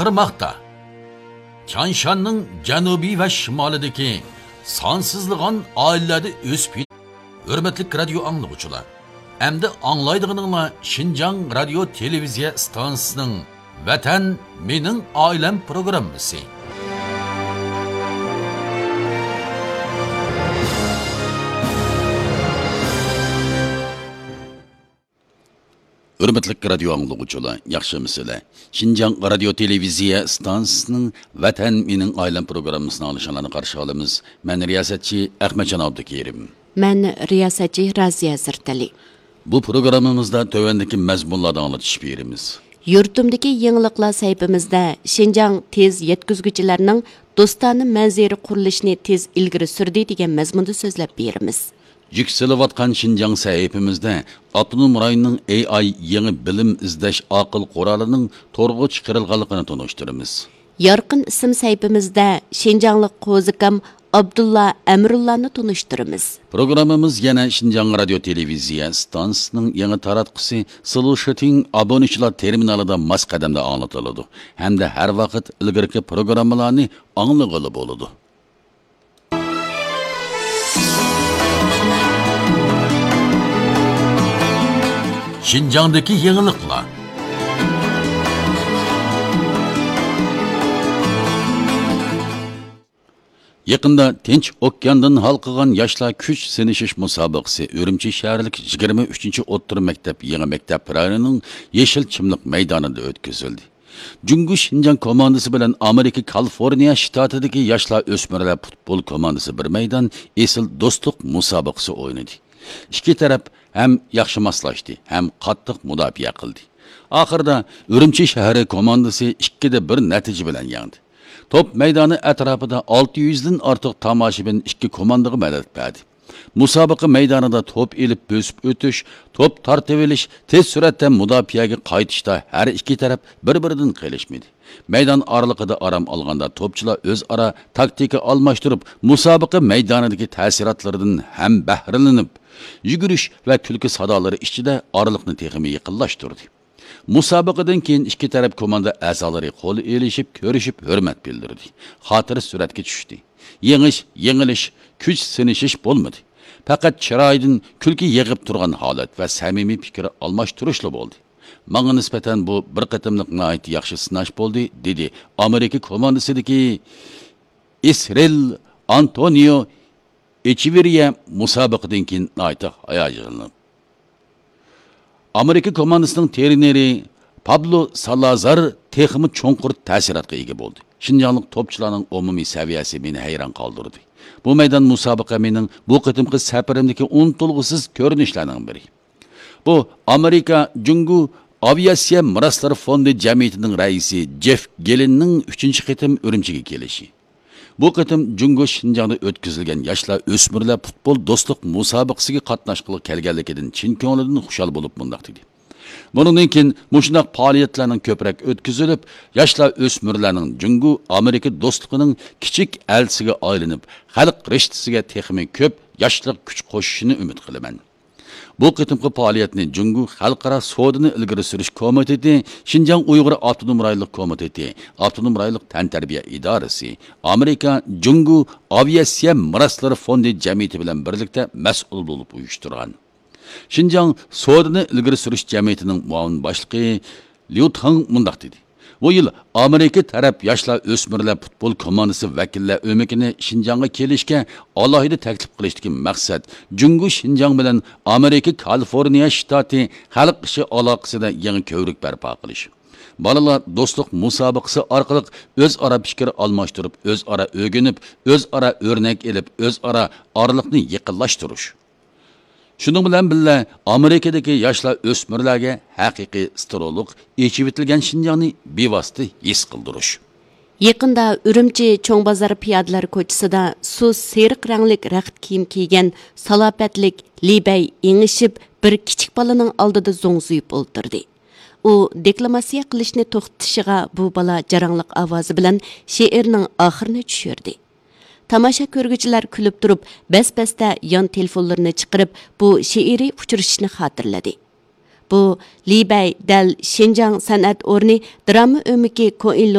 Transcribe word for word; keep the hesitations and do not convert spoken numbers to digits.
بارماقتا. تيانشاننىڭ جەنۇبى ۋە شىمالىدىكى سانسىزلىغان ئائىلىلەردە ئۆسۈپ يېتىلگەن. ھۆرمەتلىك رادىيو ئاڭلىغۇچىلار، ئەمدى ئاڭلايدىغىنىڭلار شىنجاڭ رادىيو تېلېۋىزىيە ئىستانسىسىنىڭ ۋەتەن مېنىڭ ئائىلەم پروگراممىسى. ھۆرمەتلىك رادىيو ئاڭلىغۇچىلار، ياخشىمۇسىلەر؟ شىنجاڭ رادىيو تېلېۋىزىيە ئىستانسىسىنىڭ ۋەتەن مېنىڭ ئائىلەم پروگراممىسىنى ئاڭلىشىڭلارنى قارشى ئالىمىز. مەن رىياسەتچى ئەخمەتجان ئابدۇكېرىم. مەن رىياسەتچى رازىيە زىرتەلى. بۇ پروگراممىمىزدا تۆۋەندىكى مەزمۇنلاردا ئاڭلىتىش بېرىمىز. يۇرتۇمدىكى يېڭىلىقلار سەھىپىمىزدە شىنجاڭ تېز يەتكۈزگۈچىلەرنىڭ دوستانە مەنزىرە قۇرۇلۇشىنى تېز ئىلگىرى سۈردى دېگەن مەزمۇندا سۆزلەپ بېرىمىز. يۈكسىلىۋاتقان شىنجاڭ سەھىپىمىزدە ئاپتونوم رايوننىڭ ئېي ئاي يېڭى بىلىم ئىزدەش ئاقىل قورالىنىڭ تورغا چىقىرىلغانلىقىنى تونۇشتۇرىمىز. يارقىن ئىسىم سەھىپىمىزدە شىنجاڭلىق قوزىكام ئابدۇللا ئەمرۇللانى تونۇشتۇرىمىز. پروگراممىمىز يەنە شىنجاڭ رادىيو تېلېۋىزىيە ئىستانسىسىنىڭ يېڭى تاراتقۇسى سلۇشىتىڭ ئابۇنىچىلار تېرمىنالىدا ماس قەدەمدە ئاڭلىتىلىدۇ ھەمدە ھەر ۋاقىت ئىلگىرىكى پروگراممىلارنى ئاڭلىغىلى بولىدۇ. شىنجاڭدىكى يېڭىلىقلار. يېقىندا تىنچ ئوكياندىن ھالقىغان ياشلار كۈچ سىنىشىش مۇسابىقىسى ئۈرۈمچى شەھەرلىك يىگىرمە ئۈچىنچى ئوتتۇرا مەكتەپ يېڭى مەكتەپ رايونىنىڭ يېشىل چىملىق مەيدانىدا ئۆتكۈزۈلدى. جۇڭگو شىنجاڭ كوماندىسى بىلەن ئامېرىكا كالىفورنىيە شتاتىدىكى ياشلار ئۆسمۈرلەر پۇتبول كوماندىسى بىر مەيدان ئېسىل دوستلۇق مۇسابىقىسى ئوينىدى. ئىككى تەرەپ ھەم ياخشى ماسلاشتى، ھەم قاتتىق مۇداپىئە قىلدى. ئاخىرىدا ئۈرۈمچى شەھىرى كوماندىسى ئىككىدە بىر نەتىجە بىلەن يەڭدى. توپ مەيدانى ئەتراپىدا ئالتە يۈزدىن ئارتۇق تاماشىبىن ئىككى كوماندىغا مەدەت بەردى. مۇسابىقە مەيدانىدا توپ ئېلىپ بۆسۈپ ئۆتۈش، توپ تارتىۋېلىش، تېز سۈرئەتتە مۇداپىئەگە قايتىشتا ھەر ئىككى تەرەپ بىر-بىرىدىن قېلىشمىدى. مەيدان ئارىلىقىدا ئارام ئالغاندا توپچىلار ئۆزئارا تاكتىكا ئالماشتۇرۇپ، مۇسابىقە مەيدانىدىكى تەسىراتلىرىدىن ھەم بەھرىلىنىپ، يۈگۈرۈش ۋە كۈلكە سادالىرى ئىچىدە ئارىلىقنى تېخىمۇ يېقىنلاشتۇردى. مۇسابىقىدىن كېيىن ئىككى تەرەپ كوماندا ئەزالىرى قول ئېلىشىپ، كۆرۈشۈپ، ھۆرمەت بىلدۈردى. خاتىرە سۈرەتكە چۈشتى. يېڭىش، يېڭىلىش، كۈچ سىنىشىش بولمىدى. پەقەت چىرايىدىن كۈلكە يېغىپ تۇرغان ھالەت ۋە سەمىمىي پىكىر ئالماشتۇرۇشلا بولدى. ماڭا نىسبەتەن بۇ بىر قېتىملىق ناھايىتى ياخشى سىناش بولدى، دېدى ئامېرىكا كوماندىسىدىكى ئىسرېل ئانتونىيو ئېچېۋېرىيە مۇسابىقىدىن كېيىن ناھايىتى ھاياجانلىنىپ. ئامېرىكا كوماندىسىنىڭ ترېنېرى پابلو سالازار تېخىمۇ چوڭقۇر تەسىراتقا ئىگە بولدى. شىنجاڭلىق توپچىلارنىڭ ئومۇمىي سەۋىيەسى مېنى ھەيران قالدۇردى. بۇ مەيدان مۇسابىقە مېنىڭ بۇ قېتىمقى سەپىرىمدىكى ئۇنتۇلغۇسىز كۆرۈنۈشلەرنىڭ بىرى. بۇ ئامېرىكا جۇڭگو ئاۋىئاتسىيە مىراسلىرى فوندى جەمئىيىتىنىڭ رەئىسى جېف گېلىننىڭ ئۈچىنچى قېتىم ئۈرۈمچىگە كېلىشى. بۇ قېتىم جۇڭگو شىنجاڭدا ئۆتكۈزۈلگەن ياشلار ئۆسمۈرلەر پۇتبول دوستلۇق مۇسابىقىسىگە قاتناشقىلى كەلگەنلىكىدىن چىن كۆڭلىدىن خۇشال بولۇپ مۇنداق دېدى: بۇنىڭدىن كېيىن مۇشۇنداق پائالىيەتلەرنىڭ كۆپرەك ئۆتكۈزۈلۈپ، ياشلار ئۆسمۈرلەرنىڭ جۇڭگو ئامېرىكا دوستلۇقىنىڭ كىچىك ئەلچىسىگە ئايلىنىپ، خەلق رىشتىسىگە تېخىمۇ كۆپ ياشلىق كۈچ قوشۇشىنى ئۈمىد قىلىمەن. بۇ قېتىمقى پائالىيەتنى جۇڭگو خەلقئارا سودىنى ئىلگىرى سۈرۈش كومىتېتى، شىنجاڭ ئۇيغۇر ئاپتونوم رايونلۇق كومىتېتى، ئاپتونوم رايونلۇق تەنتەربىيە ئىدارىسى، ئامېرىكا جۇڭگو ئاۋىئاتسىيە مىراسلىرى فوندى جەمئىيىتى بىلەن بىرلىكتە مەسئۇل بولۇپ ئۇيۇشتۇرغان. شىنجاڭ سودىنى ئىلگىرى سۈرۈش جەمئىيىتىنىڭ مۇئاۋىن باشلىقى ليۇ تاڭ مۇنداق دېدى: بۇ يىل ئامېرىكا تەرەپ ياشلار ئۆسمۈرلەر پۇتبول كوماندىسى ۋەكىللەر ئۆمىكىنى شىنجاڭغا كېلىشكە ئالاھىدە تەكلىپ قىلىشتىكى مەقسەت جۇڭگو شىنجاڭ بىلەن ئامېرىكا كالىفورنىيە شتاتى خەلق ئىشى ئالاقىسىدە يېڭى كۆۋرۈك بەرپا قىلىش. بالىلار دوستلۇق مۇسابىقىسى ئارقىلىق ئۆزئارا پىكىر ئالماشتۇرۇپ، ئۆزئارا ئۆگىنىپ، ئۆزئارا ئۆرنەك ئېلىپ، ئۆزئارا ئارىلىقنى يېقىنلاشتۇرۇش. شۇنىڭ بىلەن بىللە، ئامېرىكىدىكى ياشلار ئۆسمۈرلەرگە ھەقىقىي ستېرېئولۇق ئېچىۋېتىلگەن شىنجاڭنى بىۋاسىتە ھېس قىلدۇرۇش. يېقىندا ئۈرۈمچى چوڭ بازار پىيادىلەر كوچىسىدا سۇس سېرىق رەڭلىك رەخت كىيىم كىيگەن سالاپەتلىك لى بەي ئېڭىشىپ، بىر كىچىك بالىنىڭ ئالدىدا زوڭزىيىپ ئولتۇردى. ئۇ دېكلاماتسىيە قىلىشنى توختىتىشىغا، بۇ بالا جاراڭلىق ئاۋازى بىلەن شېئىرنىڭ ئاخىرىنى چۈشۈردى. تاماشا كۆرگۈچىلەر كۈلۈپ تۇرۇپ، بەس-بەستە يان تېلېفونلىرىنى چىقىرىپ، بۇ شېئىرىي ئۇچرىشىشنى خاتىرىلىدى. بۇ لى بەي دەل شىنجاڭ سەنئەت ئورنى دىراما ئۆمىكى كوئىنلۇن